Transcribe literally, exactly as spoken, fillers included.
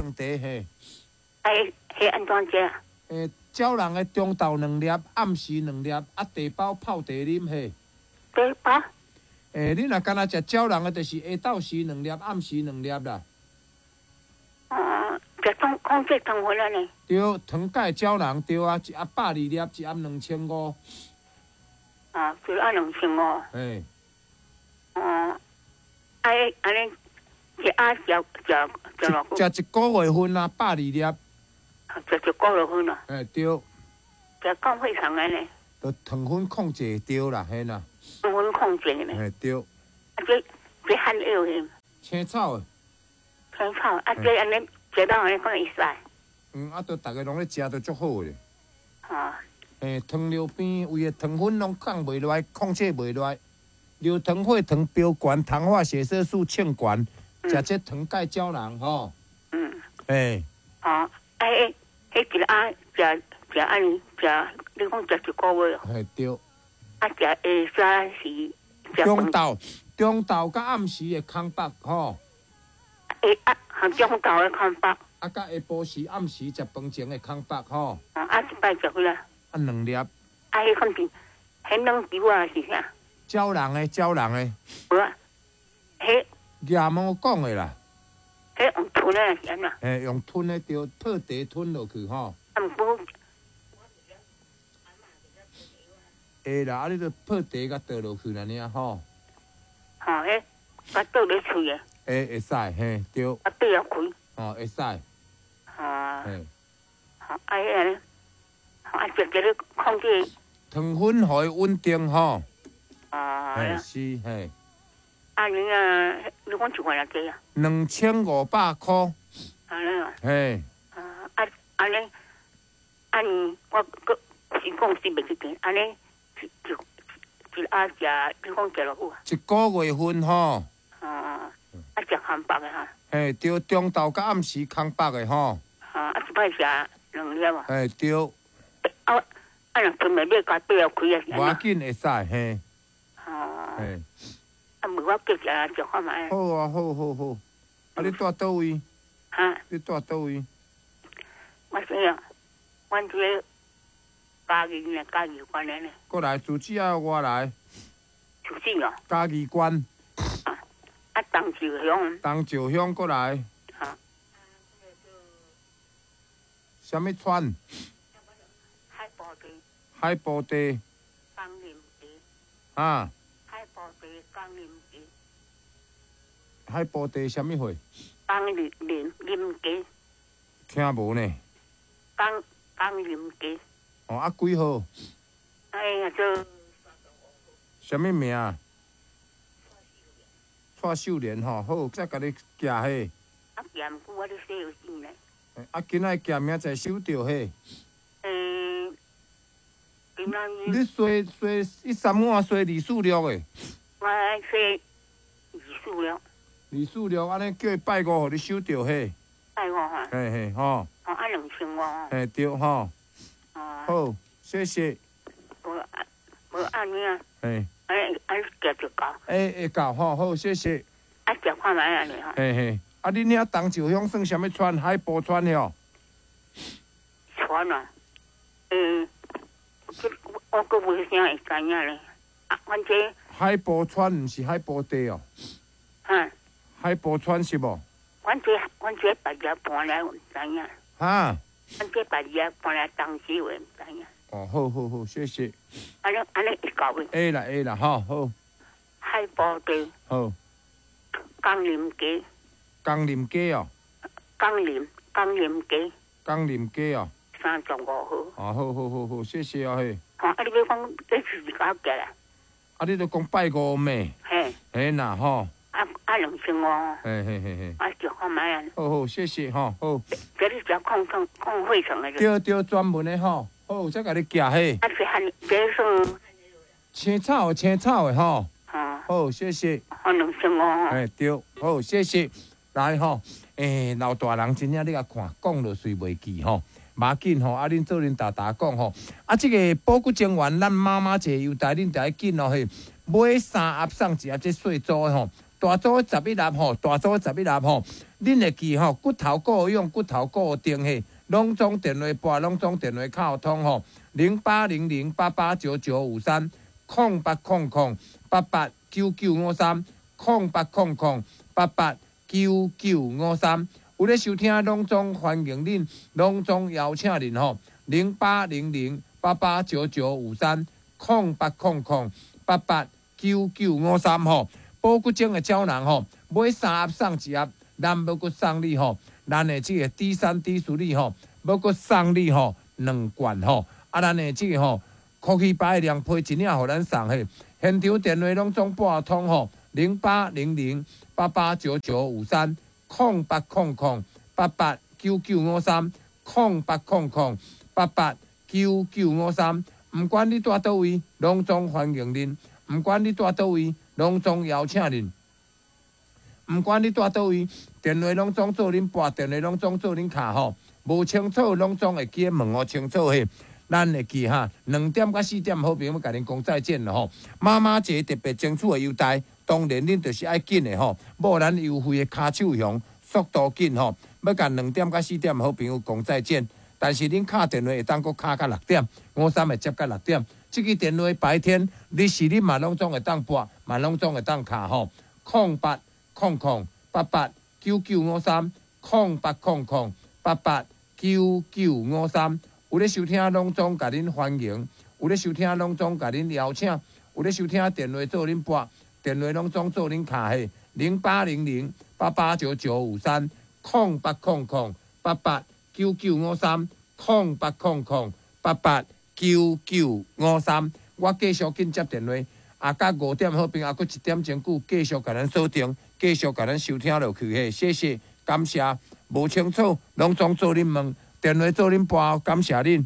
糖茶嘿。啊，彼按怎食？欸，鸟人的中晝兩粒，暗時兩粒，啊，茶包泡茶啉嘿。茶包？欸，你若干焦食鳥人的，就是下晝時兩粒，暗時兩粒啦。哦，食糖控制糖分按呢？對，糖鈣膠囊對啊，一盒百二粒，一盒兩千五。啊，一盒兩千五。嘿。哦，啊，按呢一盒食食食偌久？食一個月份啊，百二粒。食一個月份啊？欸，對。食降血糖按呢？就糖分控制對啦，嘿啦。糖分控制呢？嘿，對。啊，這這漢藥的。青草的。青草，啊，這按呢食到按呢敢會使？嗯，啊，都逐个攏咧食，都足好的。啊。欸，糖尿病胃的糖分攏降袂落來，控制袂落來，尿糖、血糖飆懸，糖化血色素衝懸，食這糖鈣膠囊吼。嗯。欸。哦，啊，彼彼一盒食食按呢食，你講食一個月？嘿，對。啊，食下早時。中晝、中晝佮暗時的空腹吼。欸啊，含中晝的空腹。啊，佮下晡時、暗時食飯前的空腹吼。啊，一擺食幾啊？啊，兩粒。啊，彼款是，彼軟球啊是啥？鳥人的，鳥人的。無啊，彼。亚毛講的啦。彼用吞的是按怎？嘿，用吞的對，泡茶吞落去吼。啊，毋過。會啦，啊，你著泡茶共倒落去按呢吼。吼，彼共倒咧喙的。會會使，嘿，對。啊，閉仔開。哦，會使。啊。嘿。啊，彼按呢，啊，食這个控制。糖分予伊穩定吼。啊。嘿，是嘿。啊，你啊，你講一罐偌濟啊？兩千五百箍。按呢啊。嘿。啊啊按呢，按呢，我閣是講是袂去見，按呢一一一盒食，你講食偌久啊？一個月份吼。啊，啊食空腹的哈。嘿，對，中晝佮暗時空腹的吼。啊，啊一擺食兩粒啊。嘿，對。啊啊，若吞袂欲共閉仔開啊？無要緊，會使嘿。啊。嘿。啊，無我叫食食看覓。好啊，好好好。啊，你住佗位？哈？你住佗位？我說啊，阮這個嘉義呢，嘉義縣的呢。過來，住址愛我來。住址哦。嘉義縣。啊，啊，東石鄉。東石鄉過來。啊。啥物村？海埔地。海埔地。江林地。啊。海埔地江林地。海埔地啥物貨？江林林林街。聽無呢？江江林街。哦，啊幾號？哎呀，這。啥物名？蔡秀蓮吼，好，再共你寄嘿。啊，寄毋久我咧洗藥水呢。啊，今仔寄明仔載收著嘿。欸，今仔日。你洗洗一三五洗二四六的。我洗二四六。二四六，按呢叫伊拜五予你收著嘿。拜五哈。嘿嘿吼。哦，啊兩千五。嘿對吼。哦。好，謝謝。無啊，無按呢啊。嘿。按按寄就到。會會到吼，好，謝謝。啊，食看覓按呢吼。嘿嘿，啊，恁遐東石鄉算啥物村？海埔村吼？村啊，嗯，這我閣無啥會知影咧。啊，反正。海埔村毋是海埔地哦。哈。海埔村是無？阮這阮這別家搬來，毋知影。哈？阮這別家搬來東石話，毋知影。哦，好好好，謝謝。按呢按呢會到的。會啦會啦，吼好。海埔地。好。江林街。江林街哦。江林江林街。江林街哦。三十五號。哦，好好好好，謝謝啊嘿。哦，啊，你欲講這是幾寄來？啊，你著講拜五咩？嘿。嘿啦吼。啊啊，兩千五。嘿嘿嘿嘿。啊，食看覓啊？好好，謝謝吼，好。這你食控控控血糖的。對對，專門的吼，好，再共你寄嘿。啊，這漢這算。青草的青草的吼。啊。好，謝謝。好，兩千五。嘿，對，好，謝謝。來吼，欸，老大人真正你共看，講落隨袂記吼，無要緊吼，啊，恁做恁沓沓講吼，啊，這個保骨精丸，咱媽媽一个優待，恁著愛緊哦嘿，買三盒送一盒，這細組的吼，大组十一粒吼，大组十一粒吼，恁會記吼，骨頭顧養，骨頭顧定嘿，攏總電話撥，攏總電話敲通吼，零八零零八八九九五三，空八空空八八九九五三，空八空空八八九九五三。有咧收聽，攏總歡迎恁，攏總邀請恁吼，零八零零八八九九五三，空八空空八八九九五三吼。保骨精的膠囊吼，買三盒送一盒，咱欲閣送你吼，咱的這個 D 三 D 處理吼，欲閣送你吼兩罐吼，啊，咱的這個吼，科技白兩批一領予咱送嘿，現場電話攏總撥通吼，零八零零八八九九五三，空八空空八八九九五三，空八空空八八九九五三，毋管你蹛佗位，攏總歡迎恁；毋管你蹛佗位，攏總邀請恁。毋管你蹛佗位，電話攏總做恁撥，電話攏總做恁敲吼。無清楚，攏總會記問予清楚嘿。咱會記哈，兩點到四點，好朋友欲共恁講再見了吼。媽媽節特別爭取的優待，當然恁就是愛緊的吼。無咱優惠的跤手熊，速度緊吼。欲共兩點到四點，好朋友講再見。但是恁敲電話會當閣敲到六點，五三會接到六點。這支電話白天、日時恁嘛攏總會當撥，嘛攏總會當敲吼。空八空空八八九九五三，空八空空八八九九五三。有咧收聽，攏總共恁歡迎；有咧收聽，攏總共恁邀請；有咧收聽，電話做恁撥，電話攏總做恁敲嘿。零八零零八八九九五三，空八空空八八九九五三，空八空空八八九九五三。我繼續緊接電話，啊，到五點好朋友，閣一點鐘久繼續共咱鎖定，繼續共咱收聽落去嘿。謝謝，感謝。無清楚，攏總做恁問，電話做恁撥，感謝恁。